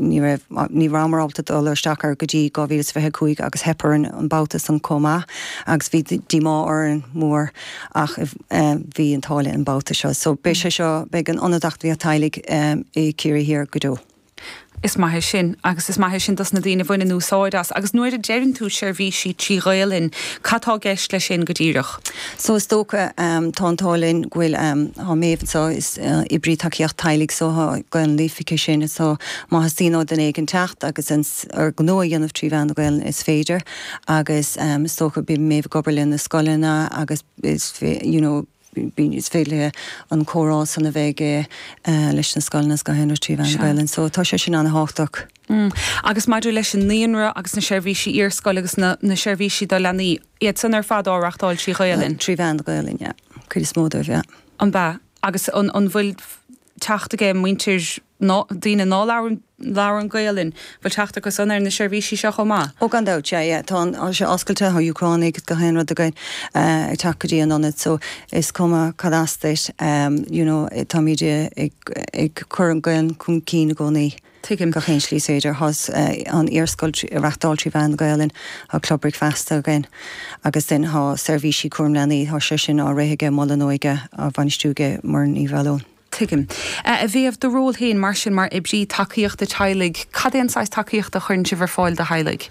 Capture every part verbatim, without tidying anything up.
ní raibh ní rabhamar ábalta dul isteach ar go dtí dhá mhíle is fiche cúig agus theip orainn an babhta san chomh maith agus bhí díomá orainn mór ach bhí an t-ádh linn an babhta seo. So beidh sé seo beidh an ionad acmhainní teaghlaigh i Ciarraí Thiar go deo. Is maith é sin agus is maith é sin dos na daoine a bhaineann úsáid as agus nuair a deireann tú seirbhísí trí Ghaelainn, cad tá i gceist leis sin go díreach? So is dócha um, tá an t-ádh linn go bhfuil um, tá Méabh so is uh, oibrí tacaíocht teaghlaigh so tá Gaelainn líofa aici sin so má theastaíonn ó dhuine éigin teacht agus an ar gnó a dhéanamh trí mheán na Gaelainne is féidir agus um, is dócha bíonn Méabh ag obair le na scoileanna agus is you know, bíonn is féidir an comhrá san a bheith uh, leis na scoileanna go héana trí mheán na Gaelainne, so tá sé sin an-tábhachtach. Mm. Agus maidir leis an naíonra agus na seirbhísí iarscoile agus na, na seirbhísí do leanaí, iad san ar fad á reáchtáil trí Ghaelainn. Trí mheán na Gaelainne, yeah. Cuid is mó dóibh, yeah. An ba agus an, an bhfuil teacht aige muintir ná, daoine ná labhrann Gaelainn, bhfuil teacht acu san ar na seirbhísí seo chomh maith? Ó gan dabht sé yeah, tá sé oscailte do Úcránaigh gach aon rud againn uh, ag teacht go dtí an ionad, so is cuma cad as duit um, you know, táimid ag, ag cur an Ghaelainn chun cinn i gcónaí. Tuigim. Gach aon slí féidir thá uh, an iarscoil reáchtáil trí mheán na Gaelainne tá Club Bricfeasta againn agus then tá seirbhísí cúram leanaí tá sé sin á rith ag Mol na hÓige á bhainistiú ag Muireann Ní Mhealóin. Tuigim. A Mhéabh do ról féin mar sin mar oibrí tacaíochta teaghlaigh, cad é an saghas tacaíochta a chuireann sibh ar fáil do theaghlaigh?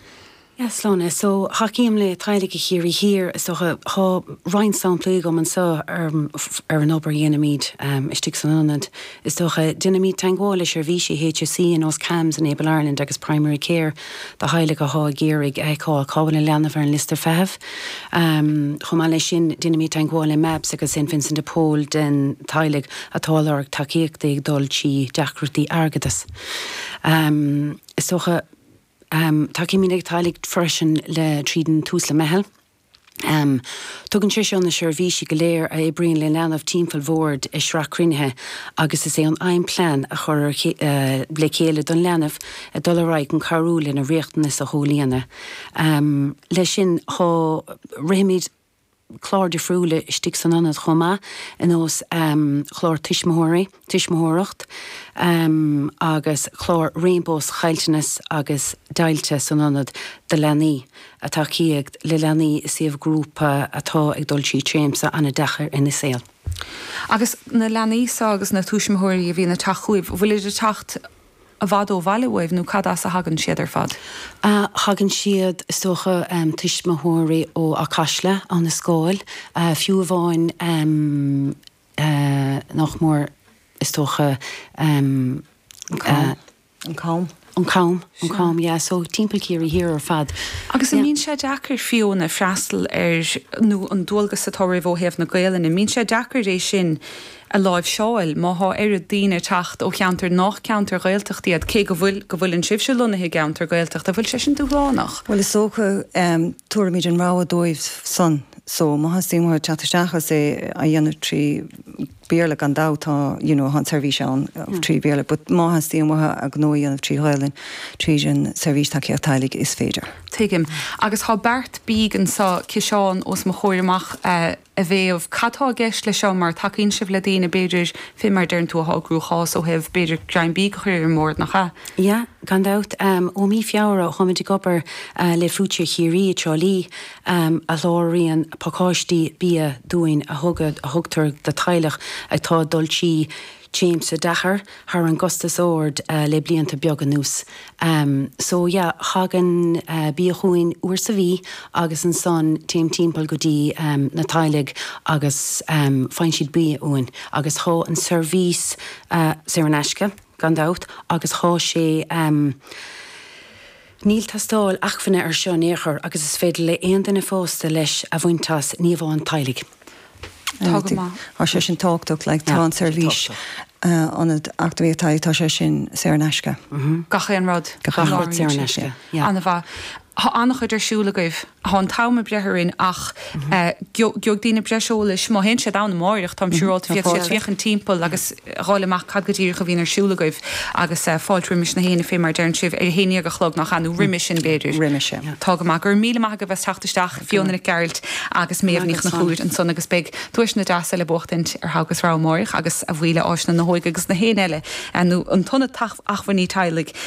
Yes, Sláine, so thacaím le teaghlaigh i Chiarraí Thiar so tá roinnt samplaí agam anseo ar, ar an obair a dhéanaimid um, istigh san ionad. Is dócha déanaimid teagmháil le seirbhísí HSE ar nós CAMHS in Able Ireland agus Primary Care do theaghlaigh atá ag iarraidh a fheiceáil cá bhfuil an leanbh ar an liosta feithimh. Um, Chomh maith leis sin déanaimid teagmháil le MABS agus St Vincent de Paul den teaghlaigh atá lorg tacaíochta ag dul trí deacrachtaí airgeadais. Um, is dócha Um, Tacaímid le teaghlaigh freisin le tríd an Tusla Meitheal. Um, Tugann sé seo na seirbhísí go léir a oibríonn le leanbh timpeall bord i sraith cruinnithe agus is é an aidhm plean a chur uh, le chéile don leanbh a dul ar aghaidh an cabhrú lena riachtanas a chomhlíonadh. Um, leis sin tá rithimid clár difriúla istigh san ionad chomh maith ar nós um, chlár tuismitheoirí, tuismitheoireacht um, agus chlár Rainbows chaillteanas agus deighilte san ionad do leanaí a tacaíocht le leanaí is iad grúpa atá ag dul trí tréimhse an-deacair ina saol. Agus na leanaí seo agus na tuismitheoirí a bhíonn ag teacht chugaibh, bhfuil ag teacht i bhfad ó bhaile uaibh nó cad as a thagann siad ar fad. Uh, thagann siad is dócha um, tuismitheoirí ó Acasla an na scáil, uh, fiú amháin um, uh, nach mór is dócha um, uh, an Cam. An Cam an Cam yeah, so timpeall Ciarraí Thiar ar fad. Agus an mbíonn sé deacair Fiona freastal ar nó an dualgas atá oraibh ó thaobh na Gaelainne, mbíonn sé deacair é sin a láimhseáil má tá ar daoine teacht ó cheantar nach ceantar Gaeltacht iad cé go bhfuil go bhfuil an sibhse lonnaithe i gceantar Gaeltachta, bhfuil sé sin dúshlánach. Well is dócha um, tugaimid an rogha dóibh san so má theastaíonn uathu teacht isteach é a dhéanamh trí Bhéarla gan dabht tá you know, an seirbhís ann mm. trí Bhéarla, but má theastaíonn uathu a gnó a dhéanamh trí Ghaelainn tríd an seirbhís tacaíocht teaghlaigh is féidir. Tuigim. Agus tá beart bídh anseo ciseán os mo chomhair amach uh, a Mhéabh cad tá i gceist le seo mar tacaíonn sibh le daoine b'fhéidir fé mar deireann tú atá i gcruachás ó thaobh b'fhéidir greim bídh a chur ar an mbord nach ea. Ja, gan dabht um, ó mí Feabhra táimid ag obair uh, le Foodshare Chiarraí Trá Lí um, a sholáthraíonn pacáistí bia dúinn a thug a thugtar do teaghlach atá ag dul trí tréimhse deacair thar an gcostas ard uh, le blianta beaga anuas. Um, so yeah, thagann uh, bia chugainn uair sa mhí agus ansan téim timpeall go dtí um, na teaghlaigh agus um, faigheann siad bia uainn agus tá an seirbhís uh, saor in aisce gan dabht agus tá sé um, Níl tástáil acmhainne ar seo néchar agus is féidir le aon duine fásta leas a bhaint as ní hamháin teaghlaigh. Tá sé sin tábhachtach le tá an seirbhís ionad acmhainní tá sé sin saor in aisce. Gach aon rud Gach rud saor in aisce. An-mhaith. Tá an-chuid ar siúl agaibh tá an t-am ag breith orainn ach gheobhaidh daoine breis eolais má théann siad ann amárach táim siúráilte féadfaidh siad féachaint timpeall agus fháil amach cad go díreach a bhíonn ar siúl agaibh agus fáilte roimis na héinne fé mar deireann sibh ar a haon déag a chlog nach ea nó roimhe sin b'fhéidir. Roimhe sin. Tá go maith gur míle maith agaibh as teacht isteach Fiona Nic Gearailt agus Méabh Ní Chonchúir ansan agus beidh duaiseanna deasa le buachtaint ar Thogh agus Rogha amárach agus a bhuí le Áislann na hÓige agus na héinne eile nó an tIonad Acmhainní Teaghlaigh